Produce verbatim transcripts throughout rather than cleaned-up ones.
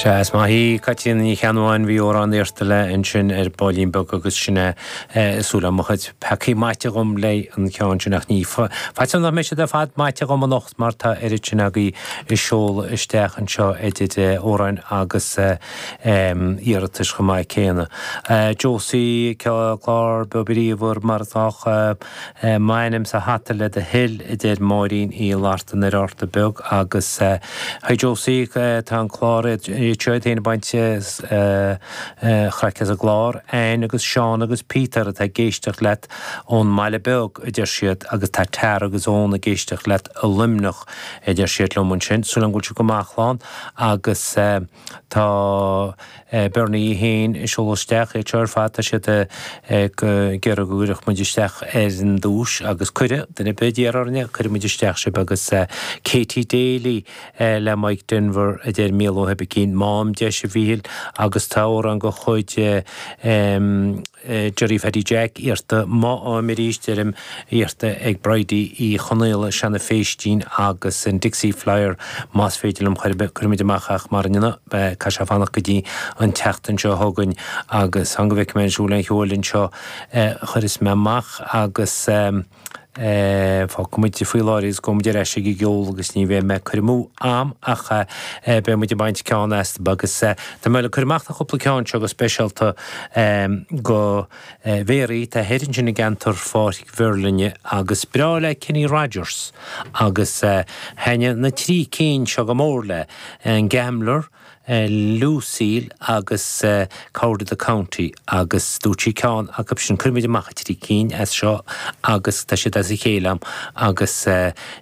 Sea, is maith í Caitríona Ní Cheannabháin, bhí amhrán iarrta léi ansin ar baillín beag agus sin é súil agam mo chuid peacaí maite dhom le an ceann sin ach ní faitíos nach mbeidh siad ar fad maite dhom anocht mar tá oiread sin agaibh ag seoladh isteach anseo idir amhráin agus iarratais chomh maith céanna. Josie clár beo bríomhar mar atá m'ainm sa hata le do thoil a deir Máirín Uí Fhlatharta ar Fhárta Beag agus hi Josie tá an clár seo iad féin ag baint chraic as an gclár Anne agus Seán agus Peter atá ag éisteacht leat ón mBaile Beag a deir siad agus tá Tara agus Eoin ag éisteacht leat i Luimneach a deir siad liom ansin. Súil agam go bhfuil sibh go maith a chlann agus tá Bernie féin ag seoladh isteach iad seo ar fad tá siad ag iarraidh go gcuirfeadh muid isteach ar an duais agus cuireadh duine ar bith a d'iarr orainne cuirfidh muid isteach sibh agus Katie Daly le Mike Denver a deir Mícheál Ó hOibicín má fhaighim deis a Mhíchíl agus tá amhrán de chuid Gerry Phatty Jack iarrta má fhaighim arís deirim iarrta ag Bridie Uí Chonaola Seanadh Phéistín agus an Dixie Flyer más féidir liom cuirfimid amach ach mar inniu caithfidh sé fanacht go dtí an tseachtain seo chugainn agus fan go bhfeicfidh mé an siúl an cheoil anseo chuireas mé amach agus fágfaidh muid faoi láthair agus gabhfaidh muid ar ais ag an gceol agus ní bheidh mé ag cur amú am ach beidh muid ag baint ceann astu agus tá mé le cur amach na cúpla ceann seo go speisialta go Mhéaraí tá thoir ansin i gceantar Pháirc Mherlinne agus breá le Kenny Rogers agus thaitnigh na trí cinn seo go mór le an Gambler, Lucille agus Coward of the County agus dúirt sí ceann acu sin cuirfimid amach a trí cinn as seo agus tá siad as a chéile am agus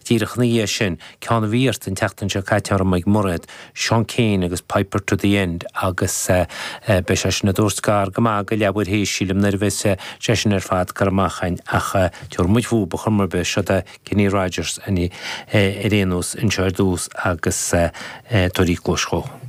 díreach ina dhiaidh sin ceann a bhí iarrta an tseachtain seo caite orm ag Mairéad, Sean Keane agus Piper to the End agus beidh sé sin ag tabhairt gar go maith go leathuair théis sílim nuair a bheas sé sin ar fad curtha amach againn ach tabharfaidh muid fúthu ar chuma ar bith seo é Kenny Rogers ar aon nós anseo ar dtús agus tabhair cluas dhó.